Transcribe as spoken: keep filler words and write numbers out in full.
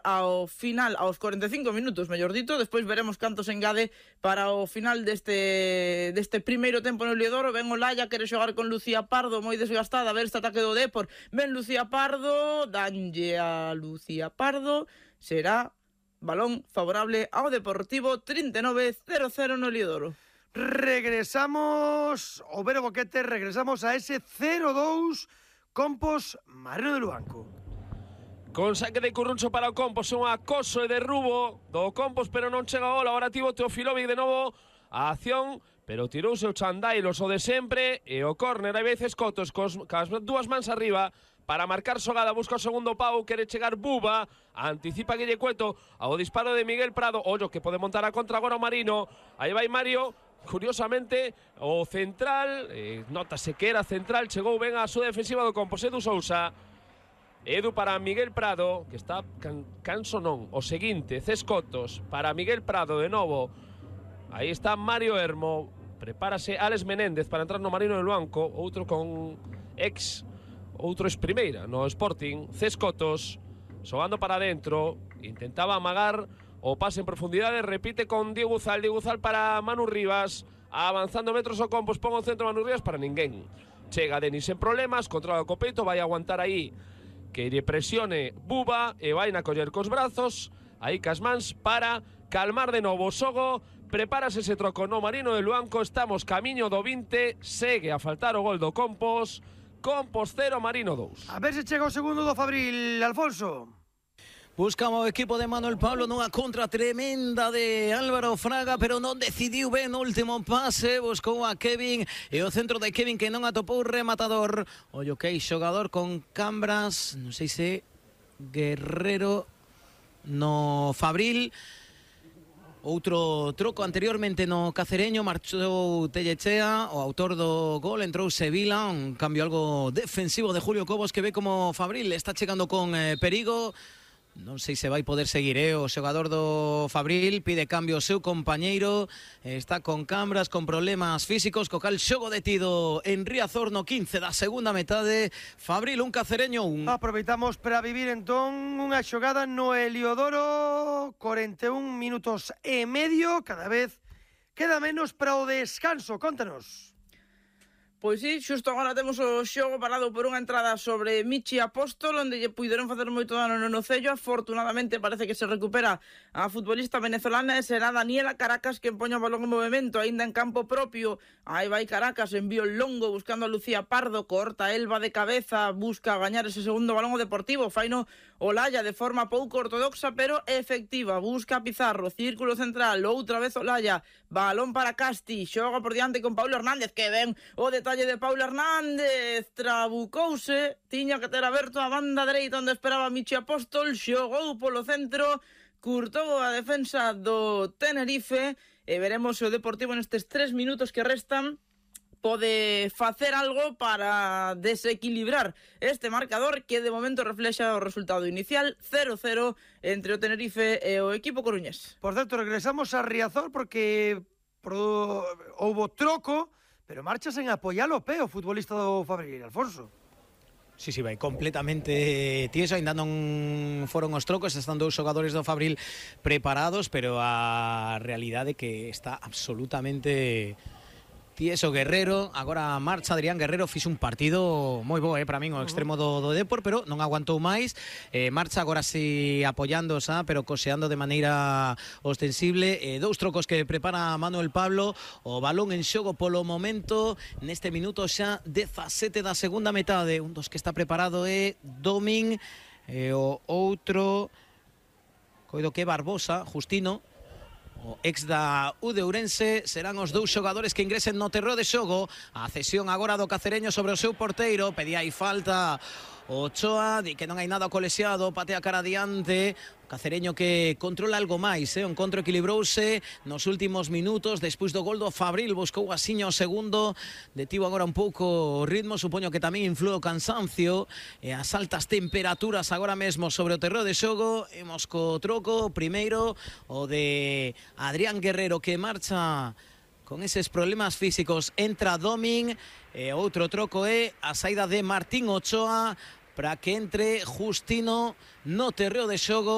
ao final, aos cuarenta e cinco minutos, mellor dito, despois veremos canto se engade para o final deste deste primeiro tempo no Liodoro. Ben o Laia, quere xogar con Lucía Pardo, moi desgastada, a ver este ataque do Depor. Ben Lucía Pardo, danlle a Lucía Pardo, será balón favorable ao Deportivo. Trinta e nove cero cero no Liodoro. Regresamos ao Vero Boquete, regresamos a ese cero dous Compos Marino de Luanco. Con saque de Curruncho para o Compos, un acoso e derrubo do Compos, pero non chega o gol. Agora tivo Teofilovic de novo a acción, pero tirouse o Chandailos o de sempre, e o córner, hai veces Cotos cos, cas dúas mans arriba para marcar xogada, busca o segundo pau, quere chegar Buba, anticipa Guille Cueto ao disparo de Miguel Prado. Ollo que pode montar a contra agora o Marino, aí vai Mario. Curiosamente, o central, eh, notase que era central, chegou ben a súa defensiva do Compos, Edu Sousa. Edu para Miguel Prado, que está can, canso non, o seguinte, Cescotos para Miguel Prado de novo. Aí está Mario Hermo, prepárase Alex Menéndez para entrar no Marino de Luanco, outro con ex, outro ex primeira no Sporting. Cescotos, xogando para dentro, intentaba amagar o pase en profundidade, repite con Diego Uzal, Diego Uzal para Manu Rivas, avanzando metros o Compos, pon o centro Manu Rivas para ninguén. Chega Denis en problemas, controla o copeito, vai aguantar aí que lle presione Buba e vai na coller cos brazos, aí cas mans para calmar de novo o xogo. Prepárase ese troco no Marino de Luanco, estamos camiño do vinte, segue a faltar o gol do Compos. Compos cero, Marino dous. A ver se chega o segundo do Fabril, Alfonso. Buscaba o equipo de Manuel Pablo nunha contra tremenda de Álvaro Fraga, pero non decidiu ben no último pase, buscou a Kevin e o centro de Kevin que non atopou rematador. Ollo que hai xogador con cambras, non sei se Guerrero no Fabril. Outro troco anteriormente no Cacereño, marchou Tellechea, o autor do gol, entrou Sevilla, un cambio algo defensivo de Julio Cobos que ve como Fabril está chegando con eh, perigo. Non sei se vai poder seguir, eh? O xogador do Fabril pide cambio o seu compañeiro, está con cambras, con problemas físicos, co cal xogo detido en Riazor no quince da segunda metade. Fabril un, Cacereño un. Aproveitamos para vivir entón unha xogada no Heliodoro, cuarenta e un minutos e medio, cada vez queda menos para o descanso, contanos. Pois sí, xusto agora temos o xogo parado por unha entrada sobre Michi Apóstol, onde lle puideron facer moito dano no nocello. Afortunadamente parece que se recupera a futbolista venezolana e será Daniela Caracas que empoña o balón en movimento, aínda en campo propio. Aí vai Caracas, envío longo buscando a Lucía Pardo, corta Elba de cabeza, busca gañar ese segundo balón o Deportivo, faino Olaya de forma pouco ortodoxa pero efectiva, busca Pizarro, círculo central, outra vez Olaya, balón para Casti, xoga por diante con Paulo Hernández, que ven o detalle de Paulo Hernández, trabucouse, tiña que ter aberto a banda dereita onde esperaba Michi Apóstol, xogou polo centro, curtou a defensa do Tenerife e veremos se o Deportivo nestes tres minutos que restan pode facer algo para desequilibrar este marcador que de momento reflexa o resultado inicial cero cero entre o Tenerife e o equipo coruñés. Por certo, regresamos a Riazor porque pro... houbo troco, pero marcha sen apoiar o pé o futbolista do Fabril, Alfonso. Sí, sí, vai completamente tieso, ainda non foron os trocos, están dous xogadores do Fabril preparados, pero a realidade que está absolutamente tieso Guerrero. Agora marcha Adrián Guerrero, fixe un partido moi bo, eh, para min o extremo do, do Depor, pero non aguantou máis. Eh, marcha agora si apoiando xa, pero coseando de maneira ostensible. Eh, dous trocos que prepara Manuel Pablo, o balón en xogo polo momento neste minuto xa dezasete da segunda metade. Un dos que está preparado é Domin, e o outro coido que Barbosa, Justino, o ex da U de Ourense. Serán os dous xogadores que ingresen no terreo de xogo. A cesión agora do Cacereño sobre o seu porteiro, pedía aí falta Ochoa, di que non hai nada colexiado, patea cara adiante. O Cacereño que controla algo máis, eh? O encontro equilibrouse nos últimos minutos, despois do gol do Fabril buscou asiño o segundo, detivo agora un pouco o ritmo, supoño que tamén influe o cansancio e as altas temperaturas agora mesmo sobre o terreo de xogo. Imos co troco, primeiro o de Adrián Guerrero que marcha con eses problemas físicos, entra Domin, e outro troco é a saída de Martín Ochoa para que entre Justino no terreo de xogo.